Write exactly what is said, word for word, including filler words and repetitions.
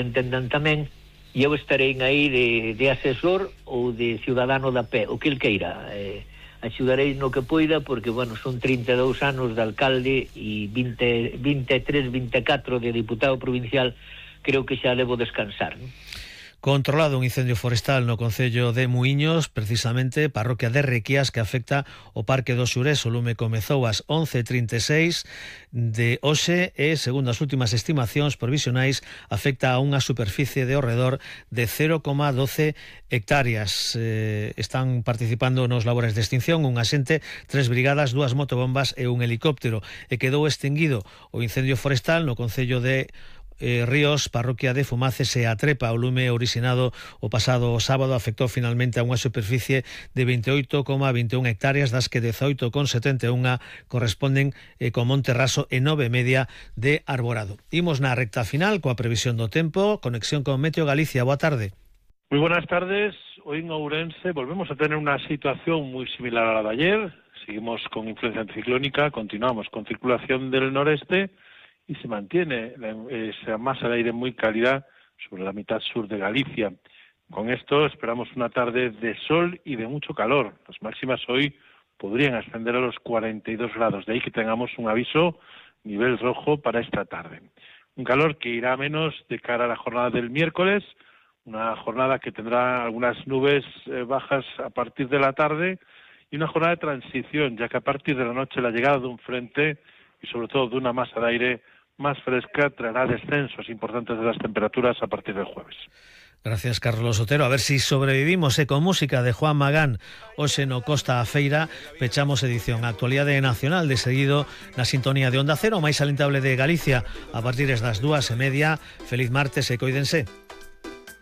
entendan tamén, e eu estarei aí de, de asesor ou de ciudadano da pé, o que el queira. Eh, axudarei no que poida, porque, bueno, son trinta e dous anos de alcalde e vinte, vinte e tres, vinte e catro de diputado provincial, creo que xa levo descansar, non? Controlado un incendio forestal no concello de Muíños, precisamente parroquia de Requias, que afecta o Parque do Xurés. O lume comezou ás once e trinta e seis de hoxe e, segundo as últimas estimacións provisionais, afecta a unha superficie de ao redor de cero coma doce hectáreas. Eh, están participando nos labores de extinción unha xente, tres brigadas, dúas motobombas e un helicóptero, e quedou extinguido o incendio forestal no concello de Eh, Ríos, parroquia de Fumaces e a Trepa. O lume originado o pasado sábado afectou finalmente a unha superficie de veintioito coma vinte e un hectáreas, das que dezoito coma setenta e un corresponden eh, con monte raso e nove e media de arborado. Imos na recta final coa previsión do tempo, conexión con Meteo Galicia. Boa tarde. Muy buenas tardes. Hoy en Ourense volvemos a tener una situación muy similar a la de ayer. Seguimos con influencia anticiclónica, continuamos con circulación del noreste y se mantiene esa masa de aire muy cálida sobre la mitad sur de Galicia. Con esto esperamos una tarde de sol y de mucho calor. Las máximas hoy podrían ascender a los cuarenta y dos grados, de ahí que tengamos un aviso nivel rojo para esta tarde. Un calor que irá a menos de cara a la jornada del miércoles, una jornada que tendrá algunas nubes eh, bajas a partir de la tarde y una jornada de transición, ya que a partir de la noche la llegada de un frente y sobre todo de una masa de aire más fresca traerá descensos importantes de las temperaturas a partir del jueves. Gracias, Carlos Otero. A ver si sobrevivimos e con música de Juan Magán. Hoxe no Costa a Feira pechamos edición Actualidade Nacional, de seguido na sintonía de Onda Cero, máis alentable de Galicia, a partir das dúas e media. Feliz martes e coídense.